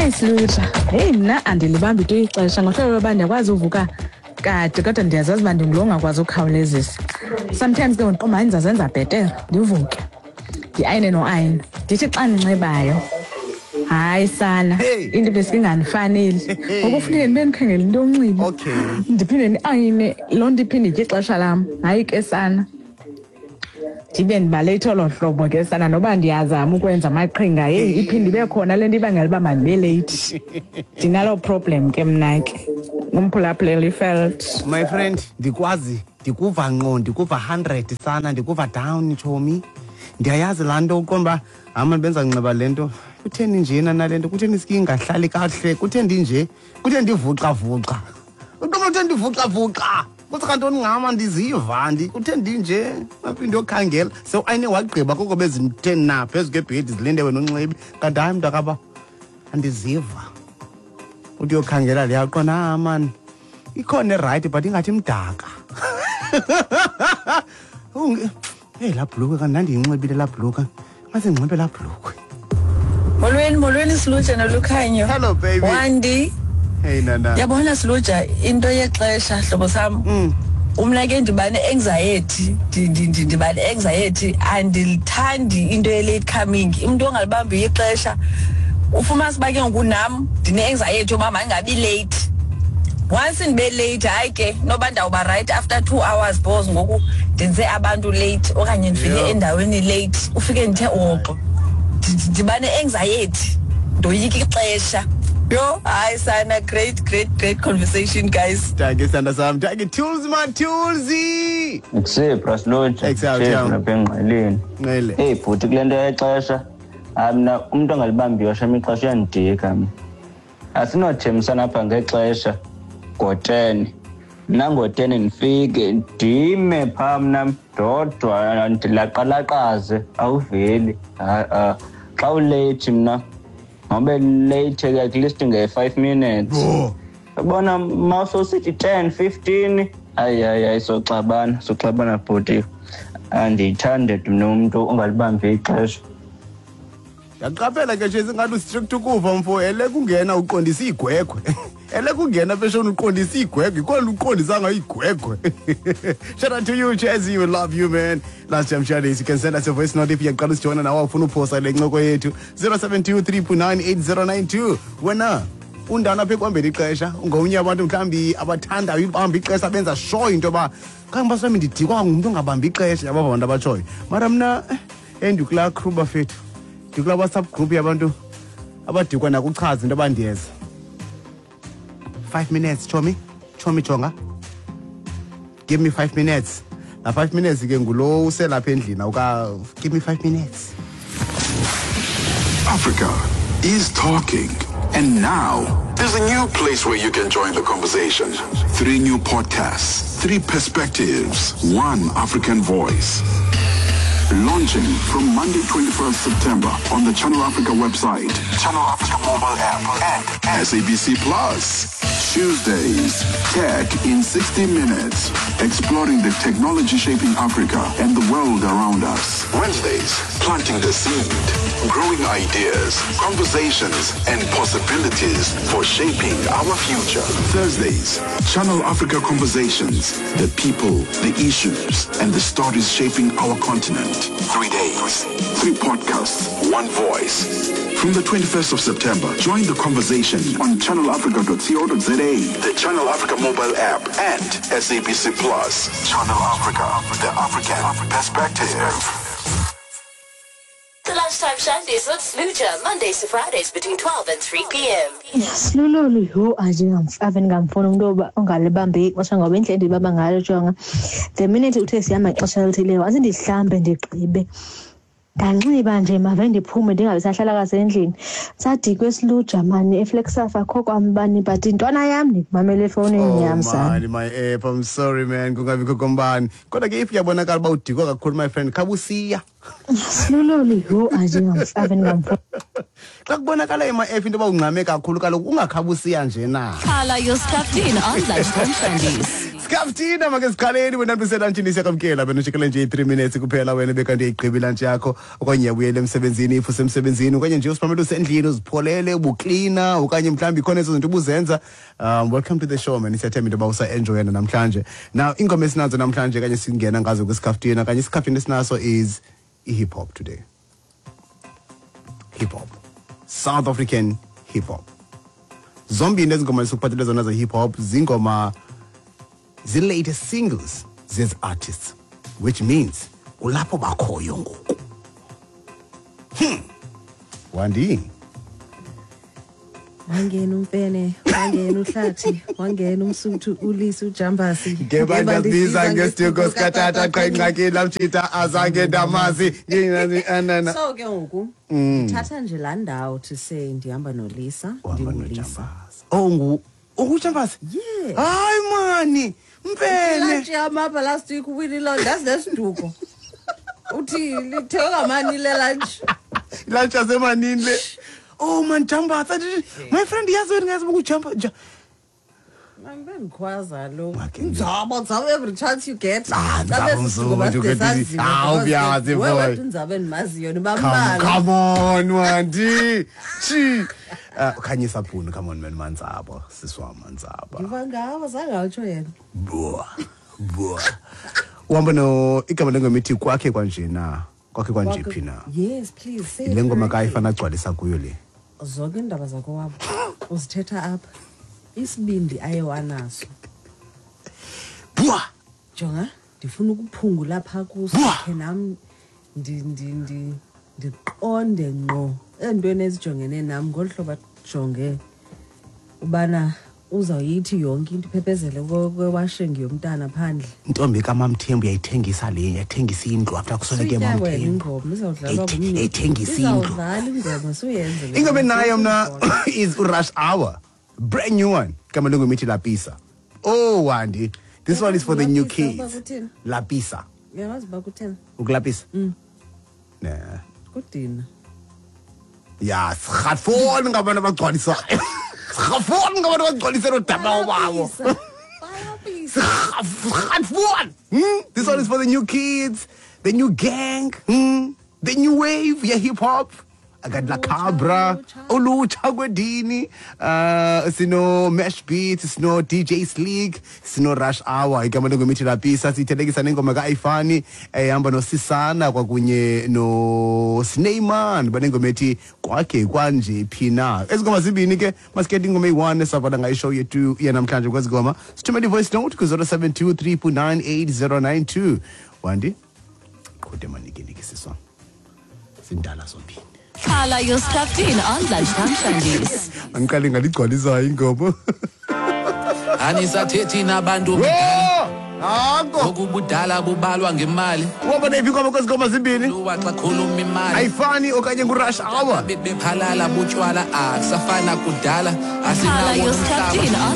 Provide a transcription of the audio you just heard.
Hayi Silutsha, heyi mna andilibambi tu ixesha ngohlobo loba ndiyakwazi uvuka kade kodwa ndiyazazi uba ndingulo ongakwazi ukhawulezisa. Sometimes ke ndiqomba hayi ndizazenza bhetere ndivuke ndiayine noayina ndithi xa ndinxibayo hayi sana into beske ingandifaneli ngoku funeke ndibe ndikhangela into yonxiba ndiphinde ndiayine loo nto iphinde itye ixesha lam hayi ke sana ndibe ndibaleyithe olo hlobo ke sana noba ndiyazama ukwenza amaqhinga heyi iphinde ibe khona le nto ibangela uba mandibe leyithi ndinaloo problem ke mna ke umphulaphuleli felt My friend, ndikwazi ndikuva ngqo, ndikuva 100 sana, ndikuva down tshomi. Ndiyayazi laa nto uqonda uba hama benza nxiba le nto. Kutheni njena nale nto? Kutheni iski ingahlali kakuhle? Kutheni ndinje? Kutheni ndivuxa-vuxa? Uqonda kutheni ndivuxa-vuxa? Kuthi kantoni ngama ndiziva ndi kutheni ndinje? Aphinde yokhangela. So ayine wagqiba koko bezimtheni na phezu kwebhedi zilinde wena unxibe. Kanti hayi mntakaba andiziva. Uthi uyokhangela leya uqonda ah man ikhona erayithi but ingathi imdaka. Hey laa bhlukhwe kanti ndandiyinxibile laa bhlukhwe. Ngase ndinxibe laa bhlukhwe. Molweni, molweni Siluja nolukhanyo. Hello baby. Wandi. Hey nana. Yabona Siluja into yexesha hlobo sam. Umna ke ndiba ne-anxiety, ndiba ne-anxiety, andilithandi into ye-late coming. Umntu ongalibambiyo ixesha ufumanisa uba ke ngoku nam ndine-anxiety yoba mandingabi late. Once ndibe late, hayi ke noba ndawuba right after 2 hours because ngoku ndenze abantu late okanye ndifike endaweni late, ufike ndithe woxo. Ndiba ne-anxiety, ndoyika ixesha. Yho, hayi sana, great, great, great conversation guys. Dankie sithanda sam. Dankie Tools man, Toolsy. Ekusiphi Brasloja? Ekusaphi, Jam. Lapha engqeleni. Nqele. Hey bhuti kule nto yexesha, hayi mna umntu ongalibambiyo shem ixesha uyandidika mna. Asinothembisana apha ngexesha ngo-10. Mna ngo-10 ndifike ndime phaa mna ndodwa ndilaqalaqaze awuveli. Hayi, ah. Xa uleyithi mna ngobe late ke at least nge-5 minutes. Yabona ma sowusithi 10, 15, hayi, hayi, hayi, soxabana, soxabana bhuti. Andiyithandi mna umntu ongalibambi ixesha. Ndiyaqaphela ke nje singathi ustrict ukuva mfo, ele kungena uqondisa igwegwe. Ele kungena pheshona uqondisa igwegwe, ikhona uqondisanga igwegwe. Shout out to you Chazzy, we love you man. Last time Shades, you can send us a voice note if uyaqala usijoyina nawe ufuna uphosa le ncoko yethu 0723.98092. Wena undana apha ekuhambeni ixesha, ungomnye abantu mhlawumbi abathandayo ibamba ixesha benza sure into yoba kanti basami ndidikwa ngumntu ongabambi ixesha, yabo abantu abatshoyo. Mara mna endikulaa crew bafethu, ndikulaa WhatsApp group yabantu abadikwa nakuchaza into abandiyeza. 5 minutes chomi, chomi jonga. Give me 5 minutes. La 5 minutes ke ngulo uselapha endlini awuka give me 5 minutes. Africa is talking. And now there's a new place where you can join the conversation. 3 new podcasts, 3 perspectives, 1 African voice. Launching from Monday 21st September on the Channel Africa website, Channel Africa mobile app, and SABC Plus. Tuesdays, Tech in 60 Minutes, exploring the technology shaping Africa and the world around us. Wednesdays, planting the seed, growing ideas, conversations, and possibilities for shaping our future. Thursdays, Channel Africa Conversations, the people, the issues, and the stories shaping our continent. 3 days, 3 podcasts, 1 voice. From the 21st of September, join the conversation on channelafrica.co.za, the Channel Africa mobile app, and SABC Plus. Channel Africa, the African perspective. The Lunchtime Shandies with Sluja, Mondays to Fridays between 12 and 3 p.m. Silulolu, yho, ave ndingamfuni umntu ongalibambi ixesha ngoba indlela endilibamba ngayo jonga. The minute uthe sihamba ixesha elithile, waze ndihlambe ndigqibe. Ndanxiba nje mave ndiphume ndingabi sahlala kasendlini. Sadikwe Siluja mani eFlagstaff akho kwambani but intwana yam ndikumamele efowunini yam sana. Man, my app, I'm sorry man, kungabikho kombani. Kodwa ke if uyabonakala uba udikwe kakhulu my friend, khabusiya. Silulolu, yho, ave ndingamfuni. Xa kubonakala ema app into yoba ungxame kakhulu kaloku ungakhabusiya nje na. Carla, you're strapped in on Lunchtime Shandies. Isikhafuthina make siqaleni wena ndiselantshini, siyakwamkela wena ujikele nje i-3 minutes kuphela wena bekanti uyayigqiba ilantshi yakho, okanye uyabuyela emsebenzini if usemsebenzini, okanye nje usiphamele usendlini uzipholele, ubuklina, okanye mhlawumbi ikhona ezo zinto ubuzenza. Welcome to the show, man. Siyathemba into yoba usa-enjoyana namhlanje. Now iingoma esinazo namhlanje kanye singena ngazo kwisikhafuthina kanye isikhafuthina esinaso is i-hip hop today. Hip hop, South African hip hop. Zombini ezi ngoma esikuphathele zona ze-hip hop zingoma zi-latest singles zezi artists, which means kulapho bakhoyo ngoku. Wandi. Wangena umfene, wangena uhlathi, wangena umsuthu, ulisa ujambasi. Ngeba ndizibiza ngesiduko sikatata, qha ingxaki lamtshita azange ndamazi anana. So ke ngoku ndithatha nje laa ndawo to say ndihamba nolisa. Uhamba ndingulisa. noJambasi. Oh, ngu ungujambasi? Yes. Hayi mani, mfene. Ilantshi yam apha last week uwinile, ndazi nesiduko, uthi lithenga mani le lunch. Ilantshi yasemanini le. Oh man, Jambasi, my friend, yazi wena ngazi ukujumpa. Bendikhwaza lo Make nzabo, nzabo every chance you get. Ah, Nzabo Mzulu, ah, uyazi, boy. Wedwa unzabo endimaziyo Come, nibambalwa. come on, Wandi. Chi. Khanyisa Phunu, come on man, Manzabo, siswa Manzaba. Ndiva ngawo, zange awutsho yena. Boa. Boa. Uhamba no igama lengoma ithi Kwakhe Kwanje Na. Kwakhe Kwanje Phi Na. Yes, please say it Le ngoma correctly. kayifana agcwalisa kuyo le. Zonke iindaba zakowabo uzithetha apha, isibindi aye wanaso. Boa. Jonga, ndifuna ukuphungula phaa kuso. Bwa! Khe nam ndiqonde ngqo eentweni ezijongene nam ngolu hlobo ajonge ubana uzawuyithi yonke into iphephezele kwewashing yomntana phandle. Intombi kaMamthembu yayithengisa le, yathengisa indlu after kusweleke Suyitya wena. Mamthembu. Ingoma izawudlalwa. Yayithengisa indlu. Izawudlala ingoma, suyenze le Ingoma nto. enayo mna is Rush Hour. Brand new one. Igama lengoma ithi Lapisa. Oh Wandi, this one is for the new Lapisa, kids. uba kuthini? Lapisa. Uyawazi uba kutheni? Ukulapisa? Nah. Kudina. Ya, sirhafoni ngabantu abagcwalisayo. Sirhafoni ngabantu abagcwalisela udaba wabo. Bayapisa. Sirhafoni. This one is for the new kids, the new gang, The new wave, yeah, hip hop. I got La Cabra, Ulutsha kwedini, sino Mesh Beat, sino DJ Sleek, sino Rush Hour. Igama lengoma ithi Lapisa, sithelekisa nengoma ka-Ifani ehamba noSisana kwakunye no Sneyman, banengoma ethi Kwakhe Kwanje Phi Na. Ezi ngoma zimbini ke masikhethe ingoma eyi-1 esavala ngayo ishow yethu yanamhlanje. Kwezi ngoma sithumele i-voice note ku-072 398 Wandi, qhude manikiniki siswa, sindala zombini. Carla, you're stuffed in on Lunchtime Shandies. Angiqale ngaligcwalisayo ingoma. Anisathethi nabantu. Anko. Okubudala bubalwa ngemali. Wabona iphi ingoma kwezi ngoma zimbini? Luwa xa khuluma imali. Ayifani okanye nguRush Hour? Bephalala butshwala, akusafana kudala. Carla, you're stuffed in on